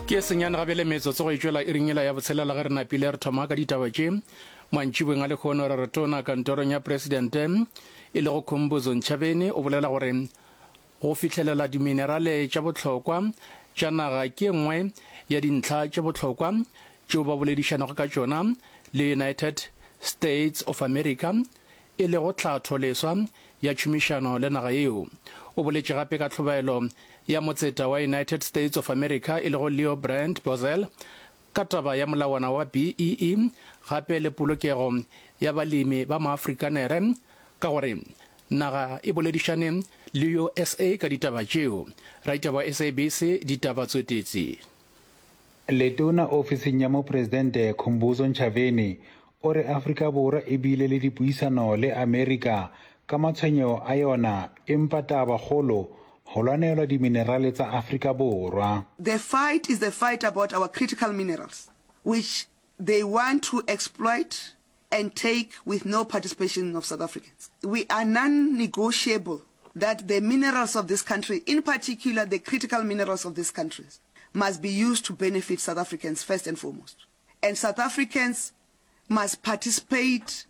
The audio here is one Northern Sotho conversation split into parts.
Ke senyane gabele metsotso go e tšwela iring yela ya botshelela ge re napile re thoma ka ditaba tše. Mantšibeng a lehono re re tona kantorong ya presidente e lego Khumbudzo Ntshavheni o bolela gore go fihlelela diminerale tša bohlokwa tša naga ke e nngwe ya dintlha tše bohlokwa tšeo ba boledišanago ka tšona le United States of America e lego tlhatho leswa ya tšhomišano le naga yeo. O boletše gape ka tlhobaelo ya motseta wa United States of America e lego Leo Brand Bozell ka taba ya molawana wa BEE gape le polokego ya balemi ba Maafrikanere ka gore naga e boledišane le USA ka ditaba tšeo. Raitaba wa SABC Ditaba Tswetetsi. Letona ofising ya Mopresidente Khumbudzo Ntshavheni o re Afrika Borwa e bile le dipuisano le Amerika ka matshwenyego a yona empa taba kgolo go lwanelwa diminerale tsa Afrika Borwa. The fight is the fight about our critical minerals which they want to exploit and take with no participation of South Africans. We are non-negotiable that the minerals of this country, in particular the critical minerals of this country, must be used to benefit South Africans first and foremost. And South Africans must participate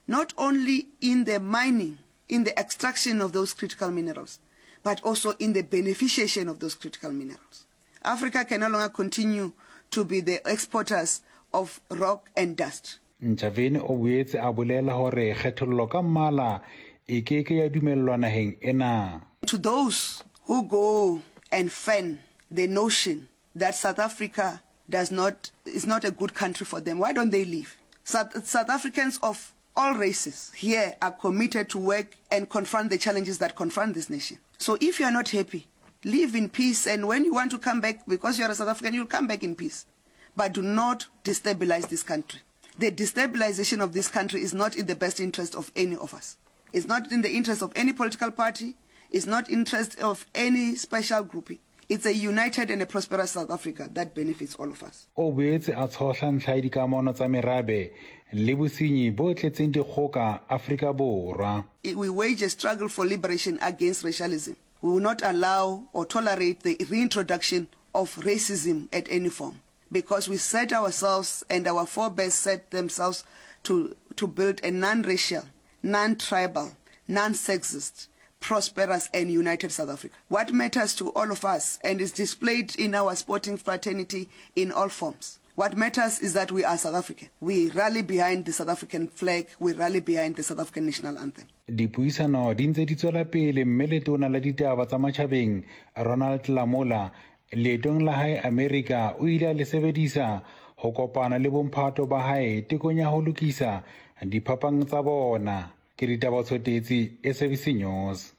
not only in the mining, in the extraction of those critical minerals, but also in the beneficiation of those critical minerals. Africa can no longer continue to be the exporters of rock and dust. Ntshavheni o boetse a bolela hore kgethollo ka mmala e ke ke ya dumellwa naheng ena. To those who go and fan the notion that South Africa does not, is not a good country for them, why don't they leave? South, South Africans of all races here are committed to work and confront the challenges that confront this nation. So if you are not happy, live in peace and when you want to come back because you are a South African, you'll come back in peace. But do not destabilize this country. The destabilization of this country is not in the best interest of any of us. It's not in the interest of any political party. It's not interest of any special grouping. It's a united and a prosperous South Africa that benefits all of us. O boetse a tshohla ntlha ya dikamano tsa merabe le bosenyi bo tletseng dikgoka Afrika Borwa. We wage a struggle for liberation against racialism. We will not allow or tolerate the reintroduction of racism at any form because we set ourselves and our forebears set themselves to, to build a non-racial, non-tribal, non-sexist, prosperous and united South Africa. What matters to all of us and is displayed in our sporting fraternity in all forms. What matters is that we are South African. We rally behind the South African flag, we rally behind the South African national anthem. Dipuisano di ntse di tswela pele mme Letona la Ditaba tsa Matjhabeng Ronald Lamola leetong la hae Amerika o ile a le sebedisa ho kopana le bomphato ba hae tekong ya ho lokisa diphapang tsa bona. Ke Ditaba Tshotetsi, SABC News.